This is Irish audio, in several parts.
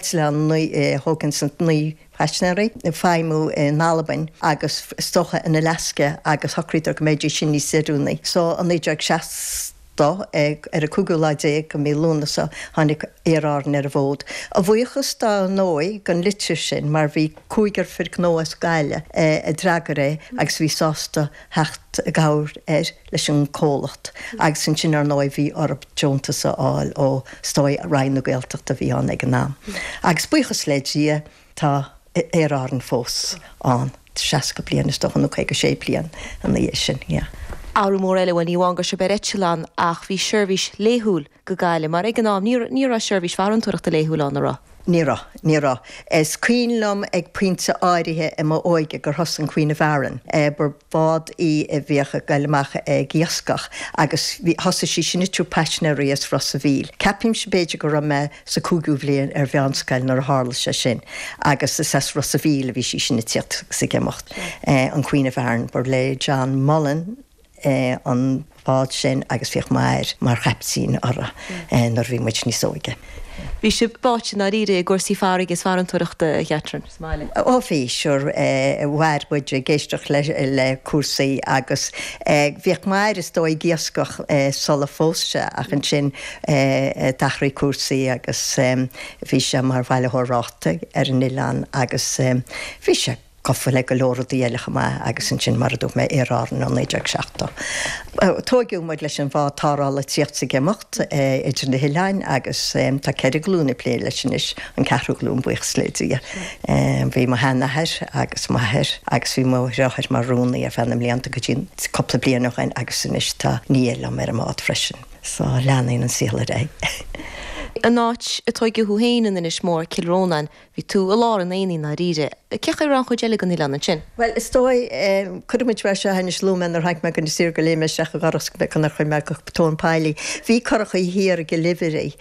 Eitleán thóg ansan 9 paisinéirí ag feidhmiú in Albain agus is dócha in Alaska agus shocraíodar go mbeidís sin níos oiriúnaí. So i 1960 ar an cúigiú lá déag de mhí Lúnasa tháinig Aer Árann ar an bhfód. A bhuíochas dá ndóigh don litir sin mar bhí cúigear fir gnó as Gaillimh a d'fhreagair é agus bhí sásta theacht i gcabhair air leis an comhlacht agus ansin ar ndóigh bhí orthu deontas a fháil ó is dóigh Roinn na Gaeltachta a bhí ann ag an am. Agus buíochas le Dia tá Aer Árann fós ann, 60 bliain is dócha nó 56 bliain ina dhiaidh sin, yeah. Athrú mór eile, bhuel ní amháin go raibh sibh ar eitleán ach bhí seirbhís laethúil go Gaillimh mar ag an am ní ní raibh seirbhís farantóireachta laethúil ann, an raibh? Ní raibh, ní raibh. Is cuimhin liom ag pointe áirithe i m'óige gur thosaigh an Queen of Aran, ba bhád í a bhíodh ag goil amach ag iascach agus bhí, thosaigh sí sin ag tabhairt paisinéirí as Ros a' Mhíl. Ceapaimse b'fhéidir go raibh mé sa cúigiú bhliain ar mheánscoil nuair a tharla sé sin agus is as Ros a' Mhíl a bhí sí sin ag tíocht agus ag imeacht. An Queen of Aran, ba le John Mullen, an bád sin agus bhíodh m'athair mar chaiptín uirthi nuair a bhí muid níos óige. Bhí sibh báite i ndáiríre i gcúrsaí farraige is farantóireachta, a Chatherine, sa mbaile? Ó bhí, sure, mhair muid ag éisteacht le cúrsaí agus bhíodh m'athair is dóigh ag iascach sula phós sé ach ansin d'athraigh cúrsaí agus bhí sé mar bhailitheoir rátaí ar an oileán agus bhí sé gafa le go leor rudaí eile chomh maith agus ansin, mar a dúirt mé, Aer Árann ó 1970. Tóigeadh muid leis an bhád tarrthála ag tíocht is ag imeacht idir na hoileáin agus tá 4 glúin ag plé leis anois, an ceathrú glúin buíochas le Dia. Bhí mo sheanathair agus m'athair agus bhí mo dhriotháir mar rúnaí ar feadh na mblianta go dtí cúpla bliain ó shin agus anois tá nia liom ar an mbád freisin. So leanann an saol ar aghaidh. An áit a tóigeadh thú féin in Inis Mór, Cill Rónáin, Bhí tú i lár an aonaigh i ndáiríre. Cén chaoi a raibh an chuid eile den oileán ansin? Bhuel, is dóigh, cuirfidh muid mar seo anois, luaigh mé nuair a tháinig mé go Inis Oírr gur léim mé isteach i gcurach gur chuir mé go tóin poill í. Bhí curachaí thiar i gCill Uimhirigh,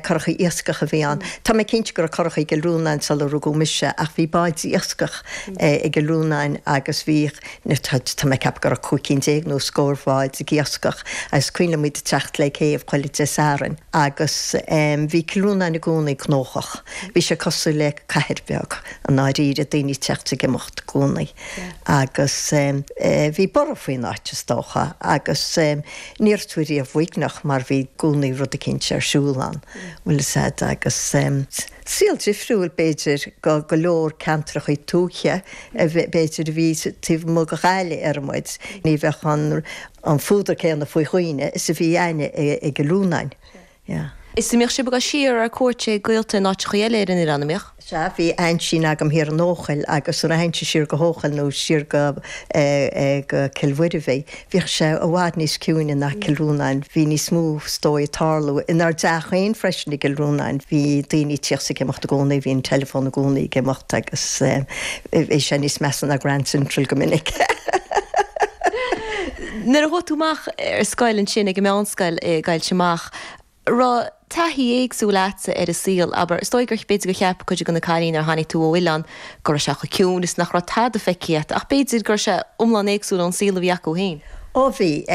curachaí iascach a bhí ann. Tá mé cinnte go raibh curachaí i gCill Rónáin sular rugadh mise ach bhí báid iascach i gCill Rónáin agus bhíodh, tá mé ag ceapadh go raibh 15 cinn nó scór bháid ag iascach agus is cuimhin liom iad ag teacht le céibh chuile Dé Sathairn agus bhí Cill Rónáin i gcónaí gnóthach. Bhí sé cosúil le cathair bheag i ndáiríre, daoine ag teacht is ag imeacht i gcónaí agus bhí borradh faoin áit is dócha agus ní raibh tú riamh uaigneach mar bhí i gcónaí rud eicínt ar siúl ann, bhfuil fhios a'd agus saol difriúil b'fhéidir go go leor ceantrachaí tuaithe b'fhéidir a bhí taobh amuigh de Ghaillimh ar muid, ní bheadh an an fuadar céanna faoi dhaoine is a bhí a'inne i gCill Rónáin. Yeah. Is an mbíodh sibh ag dul siar ar cuairt ag gaolta in áiteachaí eile ar an oileán, an mbíodh? Sea, bhí aintín agam thiar in Eochaill agus nuair a théinnse siar go hEochaill nó siar go eh go Cill Mhuirbhigh, bhíodh sé i bhfad níos ciúine ná Cill Rónáin. Bhí níos mó is dóigh ag tarlú. Inár dteach féin freisin i gCill Rónáin, bhí daoine ag tíocht is ag imeacht i gcónaí, bhí an teileafón i gcónaí ag imeacht agus eh bhí sé níos measa ná Grand Central go minic. Nuair a chuaigh tú amach ar scoil ansin ag an meánscoil i gCoillte Mach, raibh taithí éagsúil a'dsa ar an saol, abair, is dóigh gur, b'fhéidir gur cheap cuid de na cailíní nuair a tháinig tú ó oileán go raibh sé chomh ciúin is nach raibh tada feicthe a't ach b'fhéidir go raibh sé iomlán éagsúil ón saol a bhí acu féin. Ó bhí.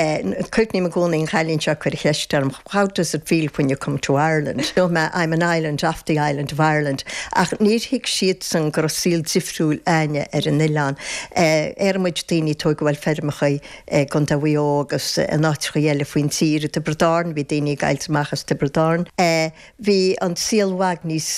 Cuimhním i gcónaí an chailín seo ag cur cheist orm, How does it feel when you come to Ireland? Dúirt mé, I'm an island off the island of Ireland. Ach níor thuig siadsan go raibh saol difriúil a'inne ar an oileán. Ar muid daoine a tógadh bhuel feirmeacha i gContae Mhaigh Eo agus in áiteacha eile faoin tír, i dTiobraid Árann, bhí daoine ag gabháilt amach as Tiobraid Árann. Bhí an saol i bhfad níos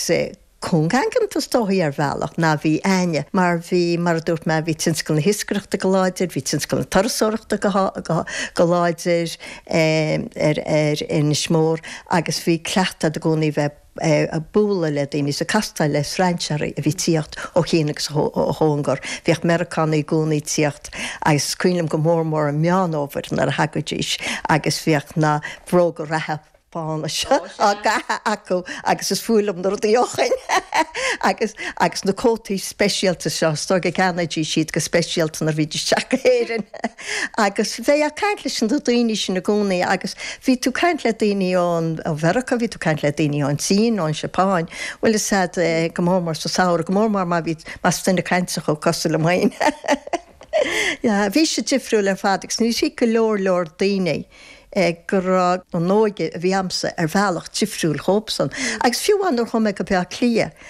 cúngaigeanta is dóichí ar bhealach ná bhí a'inne mar bhí, mar a dúirt mé, bhí tionscal na hiascaireachta go láidir, bhí tionscal na turasóireachta go go láidir ar ar Inis Mór agus bhí cleachtadh a'd i gcónaí bheith ag bualadh le daoine is ag castáil le strainséirí a bhí ag tíocht ó chian agus ó chóngar. Bhíodh Meiriceánaigh i gcónaí ag tíocht agus is cuimhin liom go mór mór i Meán Fhómhair nuair a thagaidís agus bhíodh na bróga reatha bána seo á gcaitheamh acu agus is fuath liom na rudaí ó shoin agus agus na cótaí speisialta seo, is dóigh go gceannaídís iad go speisialta nuair a bhídís ag teacht go hÉirinn agus bheifeá ag caint leis na daoine sin i gcónaí agus bhí tú ag caint le daoine ón ó Mheiriceá, bhí tú ag caint le daoine ón tSín, ón Seapáin, bhfuil fhios a'd go mór mór sa samhradh, go mór mór má bhí más duine cainteach thú cosúil liom féin. Yeah, bhí sé difriúil ar fad agus níor thuig go leor leor daoine. go raibh an óige a bhí a'msa ar bhealach difriúil dhóibhsan. Agus fiú amháin nuair a chuaigh mé go Bleá Cliath.